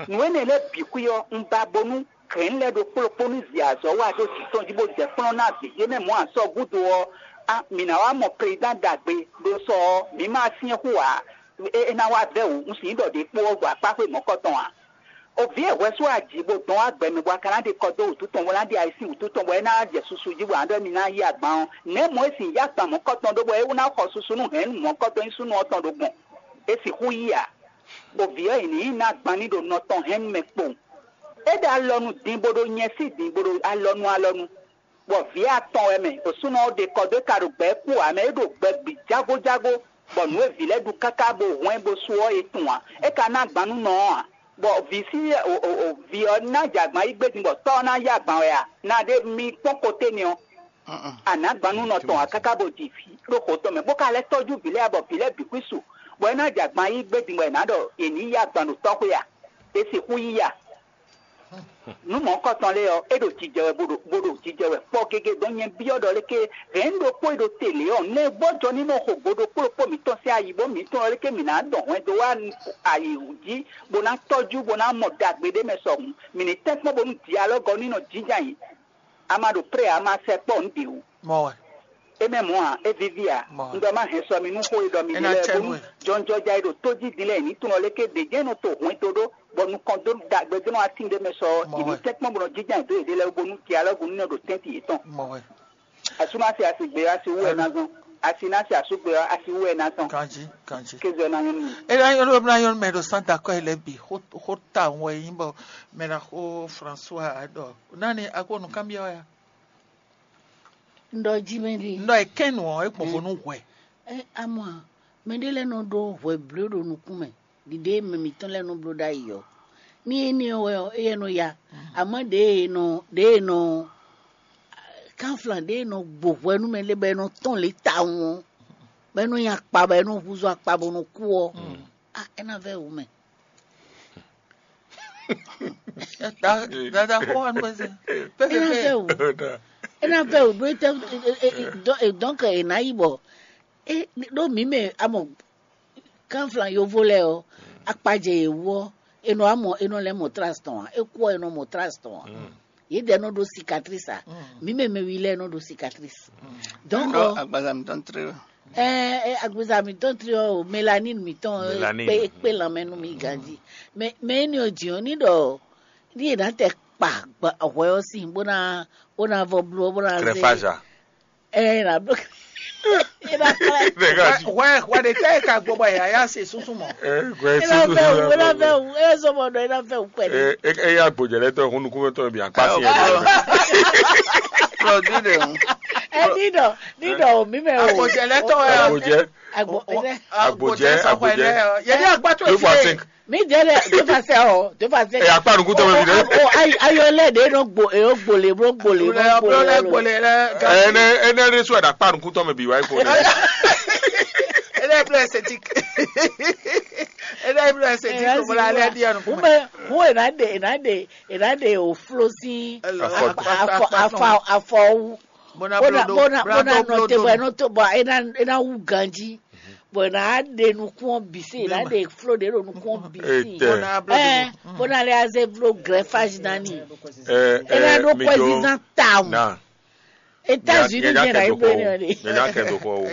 Nǔ énɛ́ lɛ́ɛ bǐ xwí ɔ́, un ba bónú hɛ̌n lɛ́ɛ ɖokpó ɖokpó ní zi azɔ̌ wa ɖó jǐ tɔn jí bó jɛ kplɔ́n ná vǐ ce mɛ mɔ̌ a sɔ́ gúdo ɔ́, á, mǐ ná wá mɔ prezidán ɖagbe ɖó sɔ ɔ́, mǐ ma syɛ́n xú ǎ. É ná wá vɛ́ wǔ, un sǐ ɖɔ ɖě kpó ɔ́ gbɔ akpá xwé mɔ̌kɔtɔn ǎ. O vǐ e hwɛ sú aji bó dɔn wá gbɛ mɛ bɔ a ka ná ɖe kɔ dó wǔtu tɔn bó ná ɖe ayi sín wǔtu tɔn bɔ é ná jɛ susu jí bɔ a ɖɔ émí ná yí agban ɔ́, nɛ̌ mɔ̌ é sin yí agban mɔ̌kɔtɔn ɖó bɔ é ná xɔ susu nú hɛ̌nnu mɔ̌kɔtɔn nyí súnnu ɔ́ tɔn ɖo gbɔn? É sixú yí ǎ. Bɔ vǐ ɔ́, è nǐ yi ná agban ní ɖo nɔ tɔn hɛ̌nnu mɛ kpowun. É ɖo alɔnu din bó ɖo nyɛ sí din bó ɖo alɔnu alɔnu, bɔ vǐ atɔn wɛ mɛ, ɖo súnnu ɔ́ ɖe kɔ dó é ka ɖo gbɛ kú ǎ mɛ, é ɖo gbɛ bǐ jágójágó, bɔ nǔ e vǐ lɛ́ɛ ɖu káká bo hwɛ́n bo sú ɔ́, è tunwun ǎ. É ka ná agban nú nɔ ɔ́ ǎ, bɔ vǐ sí vǐ ɔ́ ná jɛ agban yí gbé din bɔ tɔ́ ɔ́ ná yí agban wɛ a? Na ɖe mi kpɔ́n koté nɛ́ ɔ́, a nǎ agban nú nɔ tɔn ǎ káká bo ji vǐ ɖó xo tɔn mɛ, bó ka lɛ́ tɔ́jú vǐ lɛ́ɛ ǎ, bɔ vǐ lɛ́ɛ bǐ xwí su, bɔ é ná jɛ agban yí gbé din bɔ è nǎ ɖɔ è nǐ yí agban ɖo tɔ́ xwé a? È sixú yí a? Nǔ mɔ̌kɔtɔn lɛ́ɛ ɔ́, é ɖo jijɛ wɛ bó ɖo bó ɖo jijɛ wɛ kpɔ́ gégé. Dɔn nyɛ byɔ́ ɖɔ léké hɛ̌n ɖokpó e ɖo te lě ɔ́, nɛgbɔ́jɔ ní nɔ xo go ɖokpó ɖokpó mǐtɔn sín ayi, bó mǐ tunwun léké mǐ ná dɔn hwɛndo wá ayi jí, bó ná tɔ́jú, bó ná mɔ ɖagbe ɖé mɛ sɔ hǔn, mǐ ní tɛ́nkpɔ́n bónú dialɔ́gɔ ní nɔ jínjɔ́n ayǐ. A ma ɖo pré ǎ, a ma sɛ kpɔ́ nǔ ɖě wú. Mɔ wɛ. É mɛ mɔ̌ ǎ, é víví ǎ. Mɔ wɛ. Un ɖɔ má hɛn sɔ mi nú xó e ɖɔ mi É ɖe ná lɛ́ɛ cɛ bónú nú ɛ. Jɔnjɔja e ɖo tó jí din lɛ́ɛ ní tunwun léké ɖě jɛ́n nɔ to hwɛndo ɖó, bɔ nukɔn dó ɖagbe dó nɔ atín ɖé mɛ sɔ Mɔ ɔ́, yě ní wɛ. Tɛ́nkpɔ́n bó nɔ jínjɔ́n ayǐ dó yěɖée lɛ́ɛ wú bónú dialɔ́gu ní nɔ ɖo tɛ́ntin yětɔn. Mɔ wɛ. Asú ná se asi gbé ɔ́, asi wú wɛ é ná zɔn. Asi ná se asú gbé ɔ́, asi wú wɛ é ná zɔn. Ganji, ganji. Kézɔ ná nyɔ́ nú mi. Ena yɔn ɖo na yɔn mɛ ɖo Santa kɔ lɛ bi xo xo ta wɔ yi bɔ mɛ na xo François ɖɔ nani ako nu kan biɔ ya. Ndɔ ji mɛ ɖi. Ndɔ e kɛn nu ɔ e gbɔn vo nu hwɛ. Ɛ amɔ mɛ ɖe lɛ nɔ ɖo hwɛ bló ɖo nukún mɛ ɖiɖe mɛ mǐtɔn lɛ nɔ bló ɖ'ayǐ ɔ. Ní énɛ́ ɔ́ wɛ ɔ́, éyɛ́ nɔ ya. Amɔ̌ ɖěe nɔ ɖěe nɔ kanflan ɖěe nɔ gbo hwɛ nú mɛ lé bɔ é nɔ tɔ́n lě tawun ɔ́, bɔ é nɔ nyi akpa bɔ é nɔ húzú akpa bó nɔ kú ɔ́, á é ná vɛ́ wǔ mɛ. Dada xó wa nú eze. É ná vɛ́ wǔ. É ná vɛ́ wǔ ɖó é tɛ́ dɔ́nkɛ è nǎ yi bɔ é ɖó mǐ mɛ amɔ kanflan yovo lɛ́ɛ ɔ́, akpajɛ yě wú ɔ́, è nɔ wá mɔ è nɔ lɛ́ mɔ tras tɔn ǎ, é kú ɔ́ è nɔ mɔ tras tɔn ǎ. Yědɛɛ nɔ ɖó cicatrice ǎ, mǐ mɛ mɛwi lɛ́ɛ nɔ ɖó cicatrice. Donc Ɖɔ agbaza mǐtɔn tlé wɛ. Ɛɛ agbaza mǐtɔn tlé ɔ́, mélanine mǐtɔn Mélanine. Kpé kpé lanmɛ nú mi ganjí. Mais mais énɛ́ ɔ́ jǐ ɔ́ ní ɖɔ ní è nǎ tɛ kpa hwɛ ɔ́ sín bó ná bó ná vɔ bló bó ná zé. Crépage a. Ɛ na bló. Ina kala. Hwɛ hwɛ ɖe tɛ ka gbɔ bɔ yaya se susu mɔ. Ɛ gbɛ ina susu bɛ wu ina bɛ wu ina sɔmɔ dɔ ina bɛ wu pɛlɛ. Ɛ ɛ ya gbɔjɛ lɛ tɔ hun nukun tɔ bi akpa si yɛ. Lɔ di de hun. Ɛ ni dɔ ni dɔ o mi mɛ o. Agbɔjɛ lɛ tɔ yɛ. Agbɔjɛ. Agbɔjɛ. Agbɔjɛ sɔfɔ yɛ. Yɛ ni agba to efi. Mi jɛ dɛ, do fa sɛ o, do fa sɛ. Ɛ akpa nukun tɔ mi dɛ. O ayi ayɔ lɛ de no gbo e o gbole bro gbole bro gbole lɛ gbole lɛ. Ɛ ne ene ne so da akpa nukun tɔ mi bi wa ko ne. Ele bro esthétique. Ele bro esthétique ko la le di anu. Ume, ume na de, na de, na de o flosi. Afɔ afɔ afɔ. Bona bona bona no te bɔ no to bɔ ena ena wu ganji. Bɔ è nǎ ɖe nukún ɔ́ bǐ sín, è nǎ ɖe fló ɖě ɖo nukún ɔ́ bǐ sín. Etɛ. Ɛ bó ná lɛ́ azé vló greffage nani. Ɛ È nà ɖó ɛ mi ɖó kwɛzizán tawun. Na. États-Unis nyanya jẹ́ kɛ ra do ibo xɔ ni o, ɔ̀dɛ. Nyanya kɛ do xɔ o.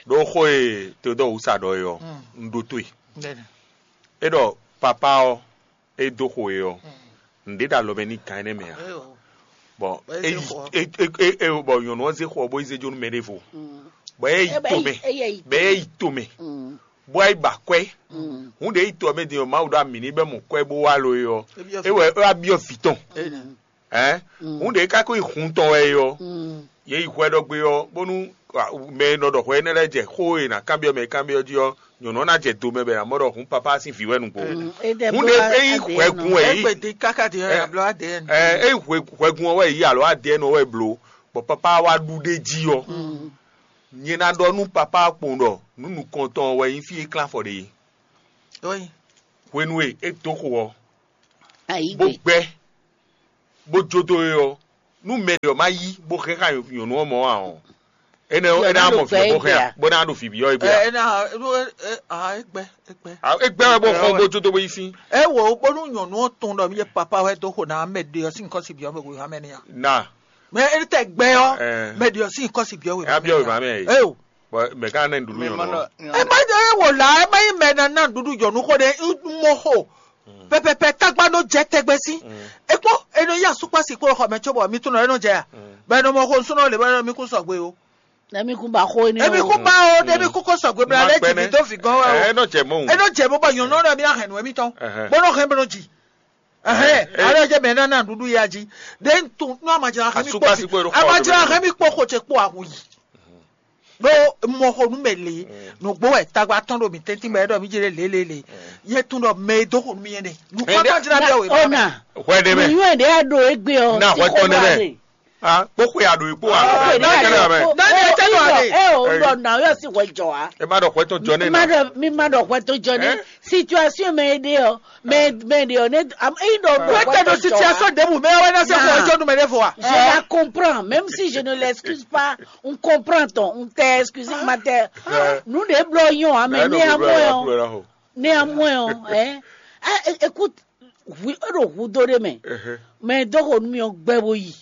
Ɖó xó e Théodore Wusa ɖɔ é ɔ́, un ɖó tó e. É ɖɔ papa ɔ́, é dó xo e ɔ́, nǔɖé ɖo alɔ mɛ n'i gan énɛ́ mɛ ǎ. Bɔ é yi é é é bɔ nyɔ̌nu ɔ́ zé xo ɔ́ bó yi zé jó nú mɛ ɖěvo. Bɔ é yi to mɛ, bɔ é yi to mɛ, bó wá yi ba kwɛ́. Hǔn ɖě yi to ɔ́ mɛ din ɔ́, Mawu ɖo ami n'i bɔ é mɔ kwɛ́ bó wá lo é ɔ́, é wɛ é wá byɔ́ vǐ tɔn. Ɛ̌ hǔn ɖě ká ko yi hun tɔn wɛ é ɔ́, yě yi hwɛ ɖɔ gbé ɔ́, bónú mɛ e nɔ ɖɔ hwɛ énɛ́ lɛ́ɛ jɛ xó e è nǎ kanbyɔ́ mɛ e kanbyɔ́ jí ɔ́, nyɔ̌nu ɔ́ ná jɛ do mɛ bɔ è nǎ mɔ ɖɔ hǔn papá sín vǐ wɛ nǔgbó. Hǔn ɖě é yi hwɛgun wɛ é yí. Égbè dín káká dín ɔ́, ablɔ adé ɛn. Ɛ é yi hwɛ- hwɛgun ɔ́ wɛ yí alo adé ɛn ɔ́ wɛ bló, bɔ papá wá ɖu ɖ'é jí ɔ́, nyɛ ná ɖɔ nú papá kpowun ɖɔ nǔ nukɔntɔn ɔ́ wɛ nyí fí e klán afɔ ɖe é. Hwenu e é dó xo ɔ́, bó gbɛ, bó jó dó é ɔ́, Nú mɛ ɖě ɔ́ ma yí bó hɛn xá nyɔ̌nu ɔ́ mɔ ǎ ɔ́, énɛ́ énɛ́ á mɔ vǐ ɔ́ bó hɛn a? Bó ná ɖo vǐ byɔ́ égbé a? Ena enu e a egbe egbe. Égbé wɛ bó xɔ gbó tó bó yi sín. E wo bónú nyɔ̌nu ɔ́ tunwun ɖɔ mi yɛ papa wɛ dó xo ná mɛ ɖe ɔ́ sín kɔ́si byɔ́ mɛ wěwá mɛ n'i a? Na. Mɛ e tɛ gbɛ ɔ́, mɛ ɖe ɔ́ sín kɔ́si byɔ́ wěwá mɛ n'i a? Byɔ́ wěwá mɛ. Eo. Mɛ ká ná nǔɖuɖu nyɔ̌nu ɔ́. E ma e wo la e ma yi mɛ ná ná nǔɖuɖu nyɔ̌nu xo ɖe mɔ xo. Pɛpɛpɛ tagba nɔ jɛ tɛgbɛ sí. Ekpɔ enɔ yi asukpasi kpó xɔ mɛ cóbɔ mi tún nɔ enɔ jɛ ya. Bɛ nɔ mɔ xo nsúnɔ le bɛ nɔ mi kún sɔgbe o. Nɛ mi kún ba xo énɛ́ emi o. Kún ba o nɛ mi kún kó sɔgbe bla lɛ jì mi dó fi gɔn wɛ o. Enɔ jɛ mɔ. Enɔ jɛ mɔ bɔ nyɔnu nɔ mi ahɛn nɔ emi tɔn. Bɔ nɔ hɛn bɛ nɔ jì. Ɛhɛn. Alɔ jɛ mɛ nana ɖuɖu ya jí. De n tun nɔ amadzra hɛn mi kpó. Asukpasi kpó. Amadzra hɛn mi kpó xo ce kpó awu yi. Ɖó mɔ xo nú mɛ lě, nǔgbó wɛ tagba tɔn ɖo mǐ tɛ́ntin mɛ ɖɔ mí jɛ lě lě lě. Yɛ tún ɖɔ mɛ e dó xo nú mí yɛn nɛ. Nǔkpɔ́tɔ́ jlá bí ɔwɛ. Ona. Hwɛ ɖé mɛ. Nǔnywɛ́ ɖé a ɖo égbé ɔ́. Na hwɛ tɔn ɖé mɛ. Ah, kpó xwe a ɖo yi kpó a. Kpó xwe ɖé a ɖo yi kpó. Dani ɛ tɛ ɖo ale. Ɛ o ɖɔ na yɔ si hwɛ jɔ wa. Ɛ má ɖɔ hwɛ tɔn jɔ nɛ na. Mi má ɖɔ hwɛ tɔn jɔ nɛ. Situation mɛ e ɖe ɔ, mɛ mɛ ɖe ɔ ne am eyi ɖɔ ɖɔ. Wɛ tɛ ɖo situation ɖebu mɛ wɛ na se xɔ jɔ nu mɛ ɖe fɔ wa. Je la comprends, même si je ne l'excuse pas, on comprend ton, on t'excuse ma tɛ. Nu ɖe blɔ yɔn amɛ ne amɔ yɔn. Ne amɔ yɔn ɛ. Écoute, wi e ɖo hudo ɖe mɛ. Mɛ dɔgɔnu mi ɔ gbɛ bo yi.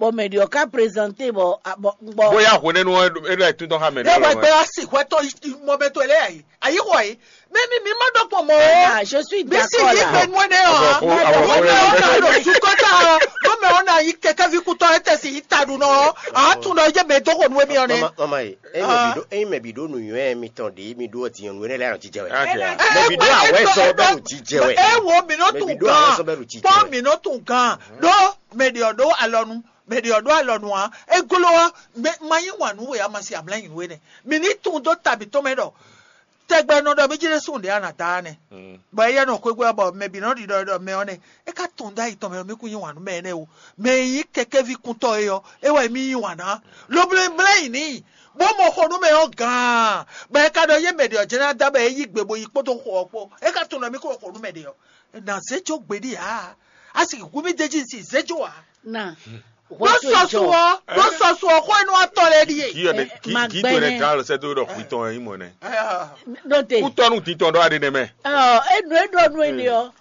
Bɔ mɛ ɖě ɔ́ ka prezante bɔ bɔ bɔ. Bóyá hwenɛ́nu ɔ́ é ɖo ayǐtúntɔ́ xá mɛ ɖé. Ewɔ gbɛ ɔ́ si hwɛtɔ́ mɔmɛtɔ́ lɛ́ɛ ayi ayi xɔ yi. Mɛ mi mi ma ɖɔ kpɔn mɔ o. Ah, je suis d'accord là. Mi si yi gbɛ nú ɛnɛ ɔ. Mɛ ɔ na ɖo sukɔta ɔ. Mɛ ɔ na yi kɛkɛvi kutɔ ɛ tɛ si yi ta ɖu nɔ. A tún nɔ yé mɛ dɔgɔ nú emi ɔ nɛ. Mama ye, eyi mɛ bi ɖo eyi mɛ bi ɖo nǔnywɛ́ mitɔn ɖě mi ɖó ɔtí nyɔnu ɛnɛ lɛ anɔ jijɛ wɛ. Mɛ bi ɖo awɛ sɔ bɛ ɖo jijɛ wɛ. E wo mi nɔ tún gan. Kpɔ mi nɔ tún gan. Ɖó mɛ ɖe ɔ ɖó alɔnu. Mɛ ɖě ɔ́ ɖó alɔ nu ǎ. É gló ɔ́, mɛ ma yí wǎn nú we ǎ, ma se amlá nyi nú we nɛ́. Mǐ ní tunwun dó ta mǐtɔn mɛ ɖɔ tɛgbɛ nɔ ɖɔ mí jlɛ́ súnnu ɖě a nǎ da ɔ́ nɛ́. Bɔ éyɛ́ nɔ xwégbé ɔ́, bɔ mɛ bǐ nɔ ɖiɖɔ ɖɔ mɛ ɔ́ nɛ́. É ka tunwun dó ayi tɔn mɛ ɔ́, mí kún yí wǎn nú mɛ énɛ́ o. Mɛ e nyí kɛkɛ́ví kúntɔ́ é ɔ́, é wɛ mí yí wǎn ná. Lobló e mlɛ́ yǐ n'i, bó mɔ xo nú mɛ ɔ́ gǎn. Bɔ é ka ɖɔ yé mɛ ɖě ɔ́ jlɛ́ ná da bɔ é yí gbe bó yi kpódó xo ɔ́ kpó. É ka tunwun ɖɔ mí kó xo nú mɛ ɖě ɔ́. Nǎ zé jó gbeɖé ǎ. A sì kú mì d'é jí sì zé jó ǎ. Na. Ɖó sɔsu ɔ, ɖó sɔsu ɔ xó enú atɔ lɛ ɖíe. Kí yɔ ne kí kí to ne gán lɔ sɛ tó ɖɔ xwitɔn ɛ mɔ nɛ. Ɖó te. Kútɔnu titɔn ɖɔ aɖe nɛ mɛ. Ɔ enu e ɖɔ nu ene ɔ.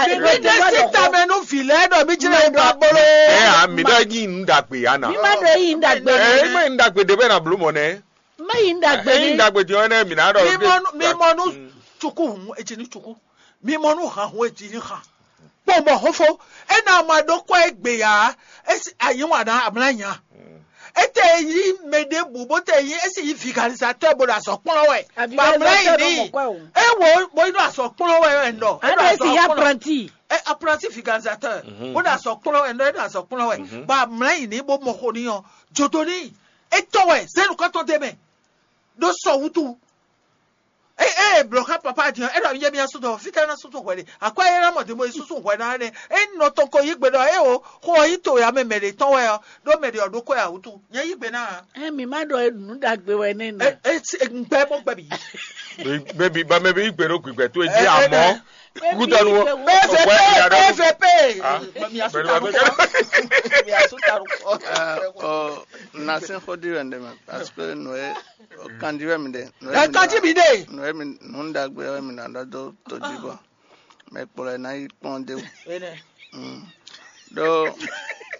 Mimi ɖe si tamɛ nú vi lɛ ɖɔ mi jlɛ ba bolo. Ɛ a mi ɖɔ yi nu dagbe ya na. Mi ma ɖɔ yi nu dagbe. Ɛ ma yi nu dagbe de bɛ na blo mɔ nɛ. Ma yi nu dagbe. Ɛ yi nu dagbe di ɔ nɛ mi na ɖɔ. Mi mɔ nu cuku hun etsi ni cuku. Mi mɔ nu han hun etsi ni han. Kpɔn bɔ xófó, ena ma ɖó kɔ egbe ya, esi ayi wa na amla nya. Ete yi mɛ ɖe bu bó te yi esi yi vigalizatɔ bo ɖo azɔ kplɔn wɛ. Ba mla yi ni. Ewo bo yi ɖo azɔ kplɔn wɛ wɛ nɔ. Ado esi ya apprenti. E apprenti vigalizatɔ. Bo ɖo azɔ kplɔn wɛ nɔ e ɖo azɔ kplɔn wɛ. Ba mla yi ni bo mɔ xo ni ɔ. Jodo ni. Etɔ wɛ zenu kɔtɔ de mɛ. Ɖo sɔ wutu. Eye eye blɔ̌ xá papá din ɔ́, é ɖɔ yé mía sú dɔn fítɛ́ ná sú tún hwɛ ɖe. Akwɛ́ é ná mɔ din bó yi súsú hwɛ ná nɛ́. É nɔ tɔn ko yí gbe ɖɔ é o xó ɔ́ yí to ya mɛ mɛ ɖě tɔn wɛ ɔ́, ɖó mɛ ɖě ɔ́ ɖó kwɛ ǎ wútu. Nyɛ yí gbe ná ǎ. Ɛ mi má ɖɔ nǔ ɖagbe wɛ nɛ́ nɔ. É é sí- é gbɛ mɔ gbɛ bǐ. Mɛ bi ba mɛ bi yí gbe ɖó gbigbɛ tó e jí amɔ kútɔnu o. P V P P V P. Mɛ mía sú ta ɖo kɔ. Mía sú ta ɖo kɔ. Ɔ na sɛn xɔ ɖi wɛ ndɛ mɛ parce que nɔ ye kandi wɛ mi ɖe. Ɛ kandi mi ɖe. Nɔ ye mi nǔ ɖagbe wɛ mi na ɖɔ dó todzi bɔ mɛ kplɔ ɛ ná yi kpɔn de. Ɖó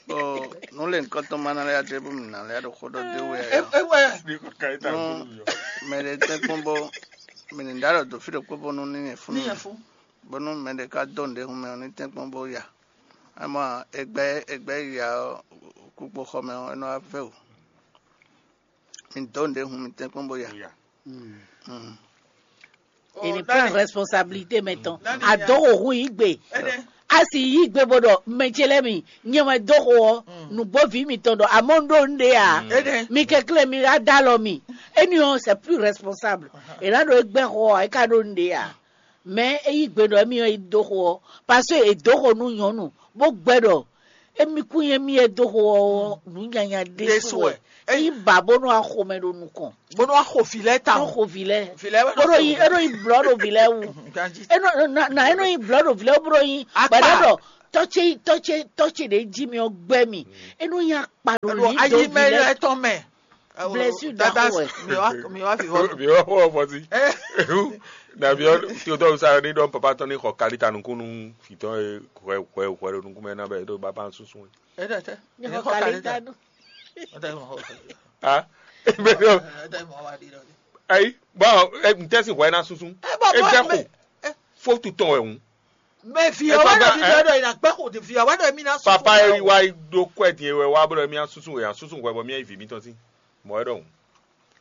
o nǔ le nukɔntɔn ma ná lɛ́ adé bó mi ná lɛ́ ɖo xó ɖɔ dé wɛ. Ewɛ. Nú mɛ ɖe tɛ́nkpɔ́n bó mi ní ɖá ɖɔ dǒ fí ɖokpó bónú ní nyɛ fún mi. Bónú mɛ ɖe ká dó nǔɖé hun mɛ ɔ́ ní tɛ́nkpɔ́n bó ya. Amɔ egbɛ egbɛ ya ɔ́ kúkpo xɔ mɛ ɔ́ é nɔ wá vɛ́ wǔ. Mi dǒ nǔɖé hun mi tɛ́nkpɔ́n bó ya. Ele prend responsabilité mɛ tɔn. Adó xo hu yí gbe. A sì yí gbe bó ɖɔ mɛ ce lɛ́ɛ mi nyɛ wɛ dó xo ɔ́. Nǔgbó vǐ mitɔn ɖɔ amɔ́ un ɖó un ɖe ǎ. Mi kɛnklɛ́n mi ɖá dó alɔ mi. Éni ɔ́ c'est plus responsable. È nǎ ɖo é gbɛ́ xo ɔ́ é ka ɖó un ɖe ǎ. Mɛ e yí gbe ɖɔ émí ɔ́ yi dó xo ɔ́, parce que è dǒ xo nú nyɔ̌nu bó gbɛ́ ɖɔ émí kún nyí émí e dó xo ɔ́ nǔ nyanya ɖésú wɛ. É yí ba bónú axo mɛ ɖo nukɔn. Bónú axo vǐ lɛ́ɛ ta. Bónú xo vǐ lɛ́ɛ. Vǐ lɛ́ɛ wɛ nɔ bónú xo yi vǐ lɛ́ɛ. É nɔ yi blɔ̌ ɖo vǐ lɛ́ɛ wú. É nɔ na é nɔ yi blɔ̌ ɖo vǐ lɛ́ɛ wú bónú yi gbɛɖɔ ɖɔ tɔ́ ce tɔ́ ce tɔ́ ce ɖě jí mi ɔ́ gbɛ́ mi. É nɔ nyí akpa ɖo Ɖo lǐ ayi dó mɛ vi lɛ́ɛ. Etɔn mɛ. Blessure Dada, ɖaxó wɛ. Mi wá mi wá fi vɔ. Mi wá fọwọ́ fọ sí. Ehu, nàbí ɔ tí o tọ́ sa ní dɔn papa tɔn ní xɔ kalita nukún nú fìtọ́ e hwɛ hwɛ hwɛ ɖo nukún mɛ ná bɛ ɖo baba sunsun. Ẹ dẹ tẹ. Ní xɔ kalita nù. Ah, bẹ́ẹ̀ ni. Ayi, bɔn ntɛsi hwɛ na sunsun. Ẹ bọ E bọ bẹ mẹ ko. Fo tutɔ ẹ hun. Mɛ fi Ẹ ɔwɛ tọ́ dɔ bá- fi ɛ- dɔ dɔ yìí na gbẹ kò fi ɔwɛ dɔ mi na sunsun. Papa eri wa do kɔ ẹ diẹ wɛ wa bolo mi a sunsun wɛ a sunsun wɛ bɔ mi a yi vi mi tɔn si. Mɔ ẹ dɔn.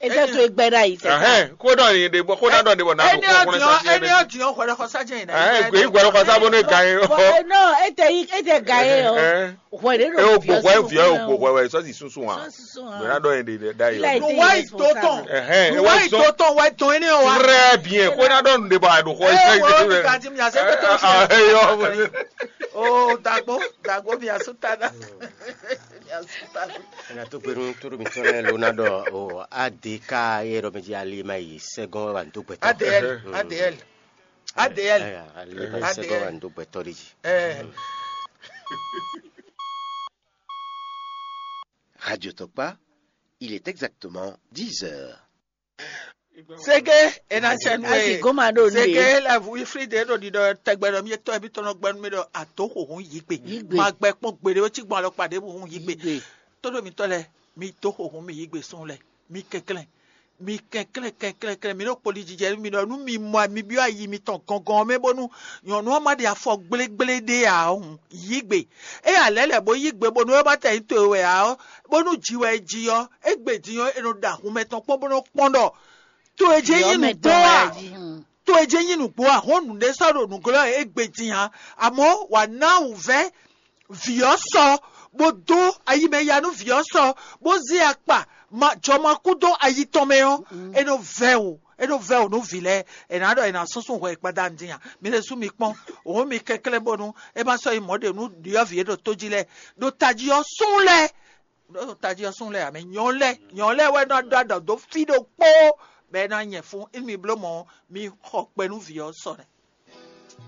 Ete to egbe ɖe ayi tɛ. Ɛhɛn, kódà ní ɖe bɔ kódà dɔn ɖe bɔ n'a Ɛni ɖo kɔkɔrɛ ɔdìyàn sa ɛni ɔdìyàn hwɛlɛ kɔ sájẹ yìí. Ɛhɛn, gbè yí gbɛrɛ kɔ sábó ní ga yín. Bɔ no ete yi ete ga yín o. Ɛhɛn. Hwɛ ɖe E ɖo o gbogbo ɛ fi ɔ gbogbo ɛ gbogbo ɛ sɔ si sunsun wa. Sunsun wa. Gbɛna dɔn yẹn ɖe da yɔ. Ilé Nu wá ìtó tán. Ɛhɛn, Nu wá ìtó tán wá tán ẹni ɔ wá. Très bien. Kódà dɔn ɖe bɔ a ɖo kɔ Ɛ wɔ mi ka ti mi ase pẹtẹ fi. Ayɔ. O dagbo dagbo mi asu tana. Mi asu tana. Ɛna tó gbenu tóɖó mitɔn lɛ́ɛ ló ná ɖɔ o A D K e ɖɔ mɛ jí ali ma yi sɛgɔn wɛ wà ní dó gbɛtɔ. A D L, A D L, A D L. Ɛɛ, ali ma yi sɛgɔn wà ní dó gbɛtɔ ɖe jí. Ɛɛ. Radio Tɔkpa, il est exactement dix heures. Sege ena tsɛ nu Asi e. Goma ɖo nu Sege e. La vu ifri de ɖo ɖiɖɔ tɛgbɛ ɖɔ mi tɔ ebi tɔnɔ gbɛnu mi ɖɔ ato xoxo yi gbe. Yi gbe. Ma gbɛ kpɔn gbeɖe wo ci gbɔn alɔkpa ɖe bu hun yi gbe. Yi gbe. Todo mi tɔ lɛ mi to xoxo mi yi gbe sun lɛ mi kɛnklɛn mi kɛnklɛn kɛnklɛn kɛnklɛn mi ɖo kpoli jijɛ mi ɖɔ nu mi mɔ mi byɔ ayi mi tɔn gɔngɔn mɛ bonu nyɔnu ɔ́ ma ɖe afɔ gblégblé ɖe ǎ hun yi gbe. Eye alɛ lɛ bo yi gbe bonu ɔ́ ma tɛ yi to wɛ ǎ ɔ́ bonu ji wɛ ji ɔ́ egbe din ɔ́ e nɔ ɖo ahun mɛtɔn kpɔ́n bó nɔ kpɔ́n ɖɔ to e jɛ nyi nǔgbó a to e jɛ nyi nǔgbó a hɔn nǔɖé sɔ́ ɖo nǔglɔ́ e egbe din a amɔ̌ wǎ ná wǔvɛ́ vǐ ɔ́ sɔ bó dó ayi mɛ ya nú vǐ ɔ́ sɔ bó zé akpa jɔmakú dó ayi tɔn mɛ ɔ́ é nɔ vɛ́ wǔ é nɔ vɛ́ wǔ nú vǐ lɛ́ɛ è nǎ ɖɔ è nǎ súnsún hwɛ gbadanu din a mi lɛ́ sú mi kpɔ́n òun mi kɛnklɛ́n bónú é má sɔ́ yi mɔ̌ ɖe nú ɖyɔ̌vǐ e ɖo tó jí lɛ́ɛ ɖo tají ɔ́ sún lɛ́ɛ ɖo tají ɔ́ sún lɛ́ɛ ǎ mɛ nyɔ̌ lɛ́ɛ nyɔ̌ lɛ́ɛ wɛ nɔ ɖɔ aɖɔ dó fí ɖokpó bɔ é ná nyɛ fún émi bló mɔ̌ mi xɔ kpɛ nú vǐ ɔ́ sɔ nɛ́.